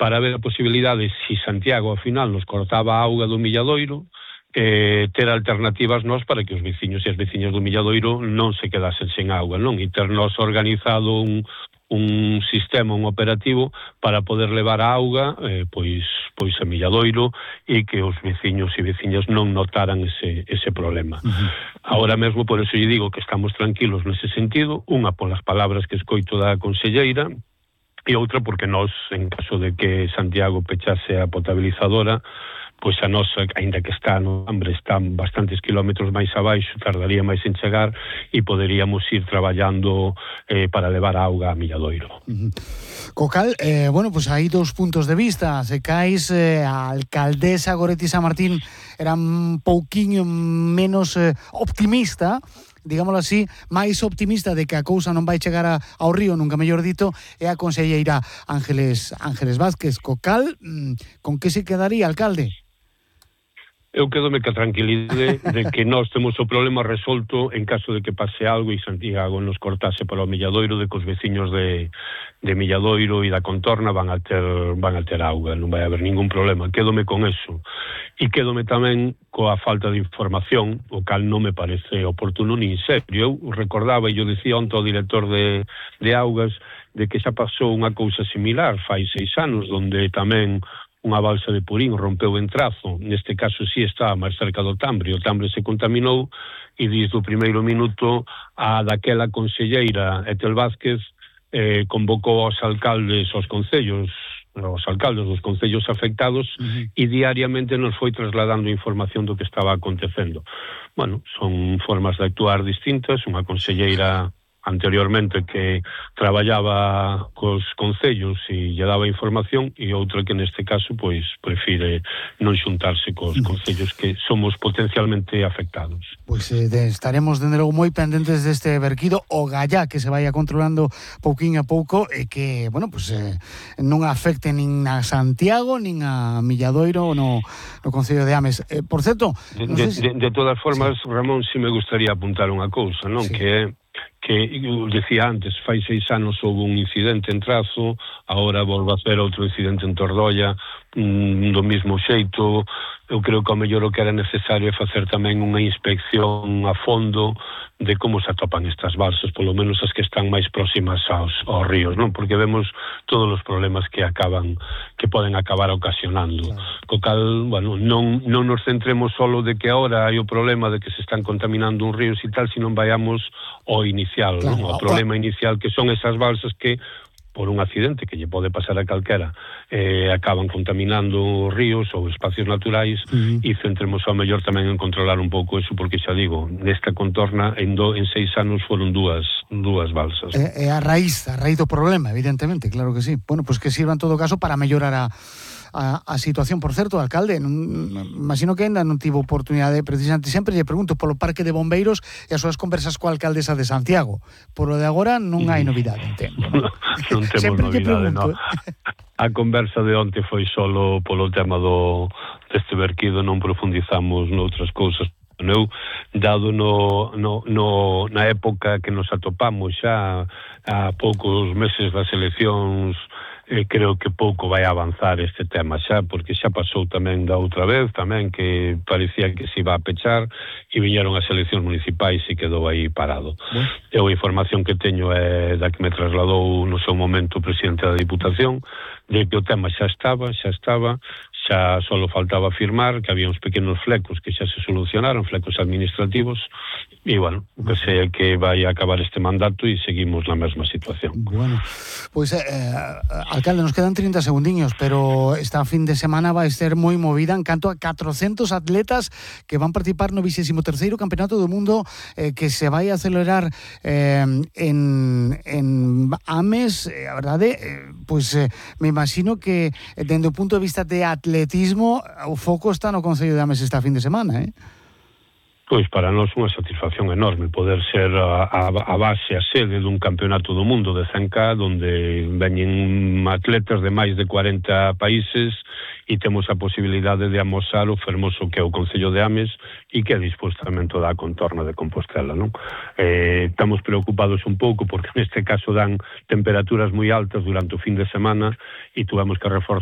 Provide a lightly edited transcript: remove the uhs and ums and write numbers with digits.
para ver a posibilidade, se Santiago ao final nos cortaba a auga do Milladoiro, ter alternativas nós para que os veciños e as veciñas do Milladoiro non se quedasen sen auga, non? E ter nós organizado un sistema, un operativo para poder levar a auga pois a Milladoiro e que os veciños e veciñas non notaran ese problema. Ahora mesmo, por eso lle digo que estamos tranquilos nese sentido, unha polas palabras que escoito da conselleira, e outra porque nós, en caso de que Santiago pechase a potabilizadora, pois a nosa, aínda que está no Ambre, está bastantes kilómetros máis abaixo, tardaría máis en chegar e poderíamos ir traballando para levar a auga a Milladoiro. Co cal, bueno, pois hai dous puntos de vista. Se cais, a alcaldesa Goretti San Martín era un pouquiño menos optimista, digámoslo así, máis optimista de que a cousa non vai chegar ao río, nunca mellor dito, é a conselleira Ángeles Vázquez. Co cal, con que se quedaría, alcalde? Eu quedome que a tranquilidade de que nós temos o problema resolto en caso de que pase algo e Santiago nos cortase para o Milladoiro, de que os veciños de Milladoiro e da contorna van a ter auga, non vai haber ningún problema. Quédome con eso. E quédome tamén coa falta de información, o cal non me parece oportuno nin serio. Eu recordaba, e eu dicía onte ao director de augas, de que xa pasou unha cousa similar fai 6 anos, onde tamén unha balsa de Purín rompeu en Trazo. Neste caso sí estaba máis cerca do Tambre. O Tambre se contaminou e desde o primeiro minuto a daquela conselleira Etel Vázquez convocou aos alcaldes, aos concellos, os alcaldes dos concellos afectados e diariamente nos foi trasladando información do que estaba acontecendo. Bueno, son formas de actuar distintas. Unha conselleira anteriormente que traballaba cos concellos e lle daba información, e outra que neste caso pois prefire non xuntarse cos concellos que somos potencialmente afectados. Pois estaremos dende logo moi pendentes deste verquido, o gallá que se vaya controlando pouquiño a pouco e que, bueno, pois non afecte nin a Santiago nin a Milladoiro no concello de Ames. Por certo, de todas formas, sí. Ramón, si me gustaría apuntar unha cousa, non? Sí. Que eu decía antes, fai 6 anos houve un incidente en Trazo, agora volve a ser outro incidente en Tordolla, do mesmo xeito. Eu creo que ao mellor o que era necesario é facer tamén unha inspección a fondo de como se atopan estas balsas, polo menos as que están máis próximas aos ríos, non? Porque vemos todos os problemas que poden acabar ocasionando. Claro. Co cal, bueno, non nos centremos solo de que agora hai o problema de que se están contaminando uns ríos e tal, sino vayamos ao inicial, claro, non? O problema inicial que son esas balsas que por un accidente que lle pode pasar a calquera, acaban contaminando ríos ou espacios naturais, e centremos ao mellor tamén en controlar un pouco eso, porque xa digo, nesta contorna en 6 anos foron dúas balsas. É a raíz do problema, evidentemente, claro que sí. Bueno, pois que sirva en todo caso para mellorar a situación. Por certo, alcalde, imagino que ainda non tivo oportunidade, precisamente, sempre lle pregunto polo parque de bombeiros e as súas conversas coa alcaldesa de Santiago. Por o de agora non hai novidade, entendo. Non temos novidade, non. A conversa de onte foi solo polo tema deste verquido, non profundizamos noutras cousas. Eu, dado na época que nos atopamos xa a poucos meses das eleccións, creo que pouco vai avanzar este tema xa, porque xa pasou tamén da outra vez, tamén que parecía que se iba a pechar e viñeron as eleccións municipais e quedou aí parado. Eu a información que teño é da que me trasladou no seu momento o presidente da Diputación, de que o tema xa estaba, xa só faltaba firmar, que había uns pequenos flecos que xa se solucionaron, flecos administrativos, e, bueno, que sei que vai a acabar este mandato e seguimos na mesma situación. Bueno, pois, alcalde, nos quedan 30 segundiños, pero esta fin de semana vai ser moi movida en canto a 400 atletas que van participar no 23º Campeonato do Mundo que se vai a celebrar en Ames. A verdade, pois me imagino que dende o punto de vista de atletismo o foco está no Concello de Ames esta fin de semana, Pois para nós unha satisfacción enorme poder ser a base, a sede dun campeonato do mundo de 100K, onde veñen atletas de máis de 40 países e temos a posibilidade de amosar o fermoso que é o Concello de Ames e que é disposto tamén toda a contorna de Compostela, non? Estamos preocupados un pouco porque neste caso dan temperaturas moi altas durante o fin de semana e tuvemos que reforzar